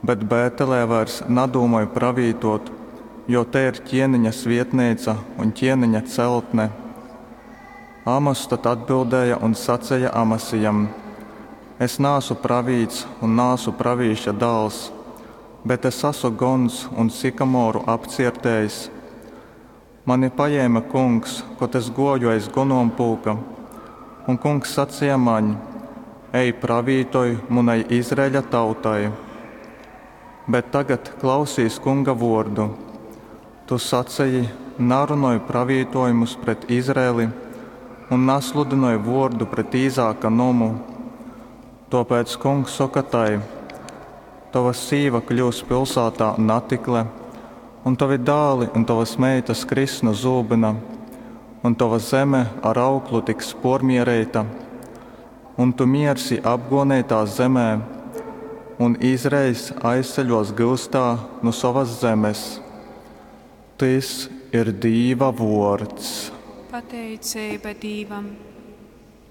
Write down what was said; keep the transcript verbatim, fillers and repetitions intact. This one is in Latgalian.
Bet Bētelē vairs nadūmoj pravītuot, jo te ir ķieniņa svietneica un ķieniņa celtne. Amoss tad atbildēja un saceja Amasijam, Es naasu pravīts un naasu pravīša dāls, bet es asu gons un sykamoru apciertējs. Mani pajēme Kungs, kod es gōju aiz gonompulka, un Kungs saceja maņ, Ej, pravītoj munai Izraeļa tautai! Bet tagad klausīs Kunga vōrdu! Tu saceji, Narunoj pravītōjumus pret Izraeli un nasludynoj vōrdu pret Īzāka nomu. Tōpēc Kungs soka tai, Tova sīva kļyus pilsātā natikle, un tovi dāli un tovas meitas kriss nu zūbyna, un tova zeme ar auklu tiks pōrmiereita. Un tu miersi apgōneitā zemē, un Izraeļs aizceļōs gyustā nu sovas zemes. Tys ir Dīva vōrds. Pateiceiba Dīvam.